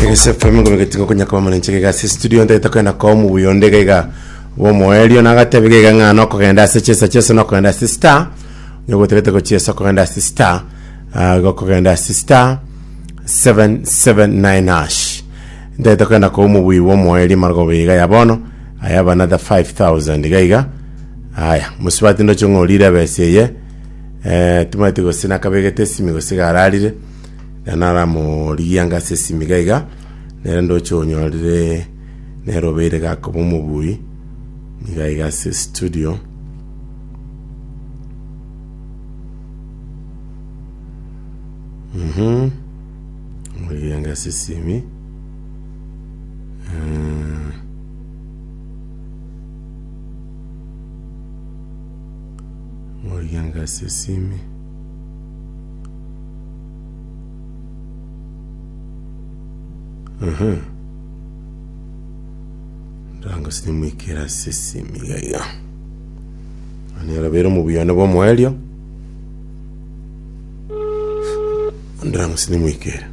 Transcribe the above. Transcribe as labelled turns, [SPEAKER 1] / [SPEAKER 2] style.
[SPEAKER 1] Egese FM ngomegeti ngokonya koba morenche iga ase studio ntagete kogenda koa omobuya onde iga iga bw'omoerio nagateba iga iga ng'a nokogenda ase chesa chesa nokogenda ase star onye gotagete gochiesa okogenda ase star ah, gokogenda ase star 779 hash ntagete kogenda koa omobuya bw'omoerio marogoba iga ya bono I have another 5000 iga iga aya mosubati ndoche ng'a orire ebesa eye eh, timanyeti gose nakabegete esimi gose iga ararire Na naramorigie anga ase esimi iga iga, nere ndoche onyorire nere obeire gakoba omobui iga iga ase studio. Mhm. Morigie anga ase esimi. Eh. Morigie anga ase esimi. Aha. Ndango sinimwikera ase esimi iga iga. Nere obeire omobuya one bw'omoerio. Ndango sinimwikera.